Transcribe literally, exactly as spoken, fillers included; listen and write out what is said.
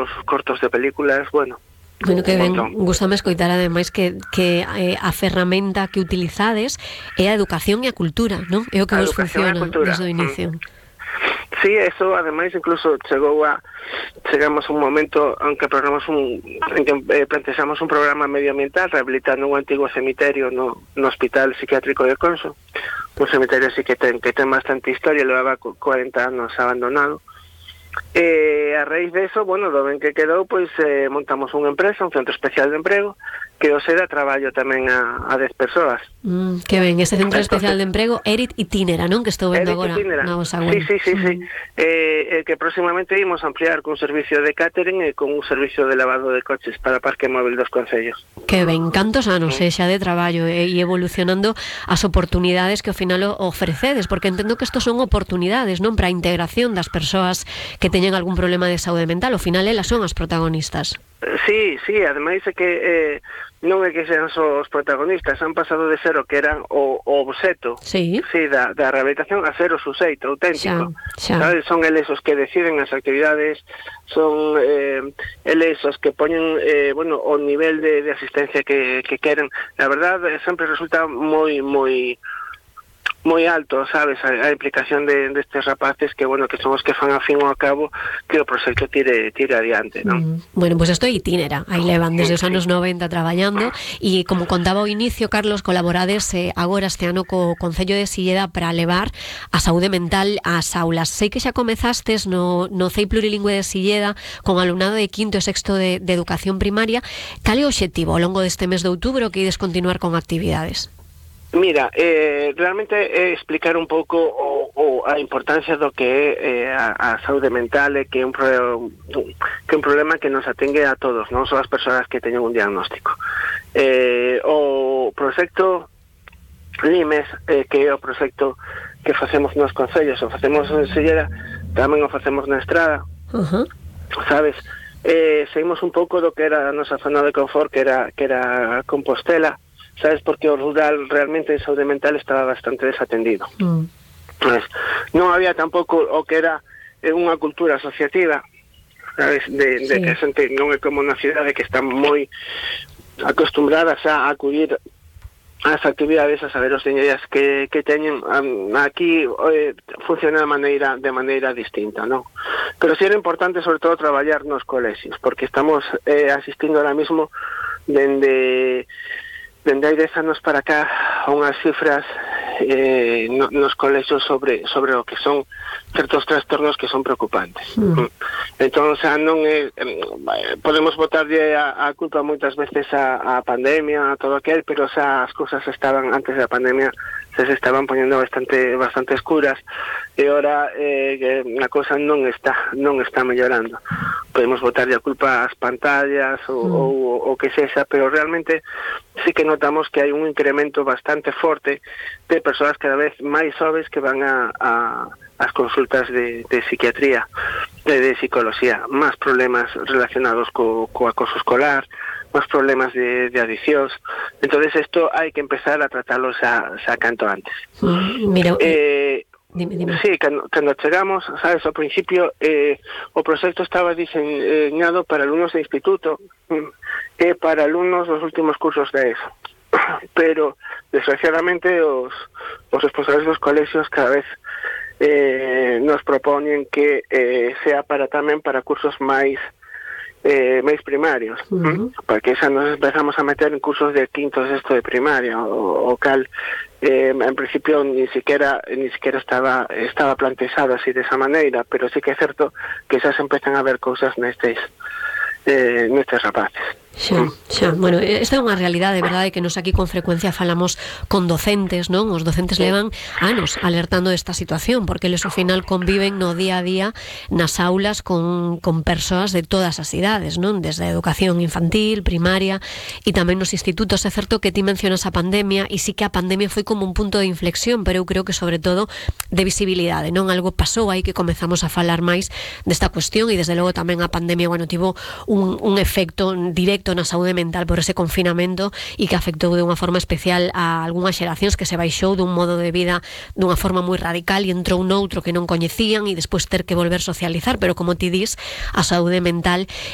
facemos cortos de películas, bueno. Bueno, que ben, gustame escoitar ademais que, que eh, a ferramenta que utilizades é a educación e a cultura, non? É o que vos funciona desde o inicio. Sí, eso ademais incluso chegou a chegamos a un momento en que programamos un en que eh, plantexamos un programa medioambiental rehabilitando un antigo cemiterio no, no Hospital Psiquiátrico de Conso, un cemiterio así que ten, que ten bastante historia, levaba cuarenta anos abandonado. E a raíz de eso, bueno, do ben que quedou, pois eh, montamos unha empresa, un centro especial de emprego, que o será traballo tamén a, a dez persoas. Mm, que ben, ese centro Entonces, especial de emprego, Erit Itinera, non? Que estou vendo agora na vosa web. Sí, sí, sí, mm. sí. Eh, eh, que próximamente imos ampliar con servicio de catering e con un servicio de lavado de coches para parque móvil dos concellos. Que ben, cantos anos mm. xa de traballo e eh, evolucionando as oportunidades que ao final ofrecedes, porque entendo que estos son oportunidades, non? Para a integración das persoas que teñen algún problema de saúde mental, ao final elas son as protagonistas. Sí, sí, ademais é que eh, non é que sean só os protagonistas, han pasado de ser o que eran o, o obxeto sí. Sí, da, da rehabilitación a ser o suxeito auténtico. Xa, xa. ¿Sabes? Son eles os que deciden as actividades, son eh, eles os que poñen eh, bueno, o nivel de, de asistencia que, que queren. La verdad, sempre resulta moi, moi moi alto, sabes, a, a implicación de destes de rapaces que, bueno, que son os que fan a fin ou a cabo que o proxecto tire tire adiante, non? Mm. Bueno, pois pues isto é Itinera, aí levan desde os anos noventa traballando e, como contaba ao inicio, Carlos, colaborades eh, agora este ano co Concello de Silleda para levar a saúde mental ás aulas. Sei que xa comezastes no, no C E I Plurilingüe de Silleda con alumnado de quinto e sexto de, de educación primaria. Cal é o obxectivo ao longo deste mes de outubro que ides continuar con actividades? Mira, eh, realmente é explicar un pouco o, o a importancia do que é eh, a, a saúde mental e que é un, pro, que é un problema que nos atengue a todos, non só as persoas que teñen un diagnóstico. Eh, o proxecto Limes, eh, que é o proxecto que facemos nos concellos, o facemos en Silleda, tamén o facemos na Estrada, uh-huh. sabes? Eh, seguimos un pouco do que era a nosa zona de confort, que era, que era Compostela, sabes, porque o rural realmente en saúde mental estaba bastante desatendido. Mm. Pues, non había tampouco o que era unha cultura asociativa, sabes, de, de sí. que a xente non é como na cidade que están moi acostumbradas a acudir ás actividades, a saber os diñeiras que, que teñen. Um, aquí eh, funciona de maneira de maneira distinta, non? Pero si era importante sobre todo traballar nos colexios, porque estamos eh, asistindo ahora mismo dende dende hai dez anos para cá a unhas cifras eh, no, nos colexios sobre sobre o que son certos trastornos que son preocupantes. Mm. Entón, o sea, non é, podemos botarlle a, a culpa moitas veces a, a pandemia, a todo aquel, pero o sea, as cousas estaban antes da pandemia se se estaban poñendo bastante bastante escuras e ora eh, a cousa non está non está mellorando. Podemos botarlle a culpa ás pantallas ou, mm. ou o que sexa, pero realmente sí que notamos que hai un incremento bastante forte de persoas cada vez máis xoves que van a, a as consultas de, de psiquiatría, de, de psicología, máis problemas relacionados co, co acoso escolar, máis problemas de, de adiccións. Entonces isto hai que empezar a tratarlos a, a canto antes. Mm, mira, eh, dime, dime. Sí, cando, cando chegamos, sabes, ao principio eh, o proxecto estaba diseñado para alumnos de instituto e para alumnos dos últimos cursos de ESO. Pero, desgraciadamente, os, os responsables dos colexios cada vez eh, nos proponen que eh, sea para tamén para cursos máis eh, máis primarios, uh-huh. porque xa nos empezamos a meter en cursos de quinto e sexto de primaria, o, o cal eh, en principio ni siquiera ni siquiera estaba estaba plantexado así de esa maneira, pero sí que é certo que xa se empezan a ver cousas nestes eh, nestes rapaces. Xa, xa. Bueno, esta é unha realidade, verdade, que nos aquí con frecuencia falamos con docentes, non? Os docentes levan anos alertando desta situación, porque eles ao final conviven no día a día nas aulas con, con persoas de todas as idades, non? Desde a educación infantil, primaria e tamén nos institutos. É certo que ti mencionas a pandemia e sí que a pandemia foi como un punto de inflexión, pero eu creo que sobre todo de visibilidade, non? Algo pasou aí que comezamos a falar máis desta cuestión e desde logo tamén a pandemia, bueno, tivo un, un efecto directo na saúde mental por ese confinamento e que afectou de unha forma especial a algunhas xeracións que se baixou dun modo de vida dunha forma moi radical e entrou noutro que non coñecían e despois ter que volver socializar, pero como ti dis, a saúde mental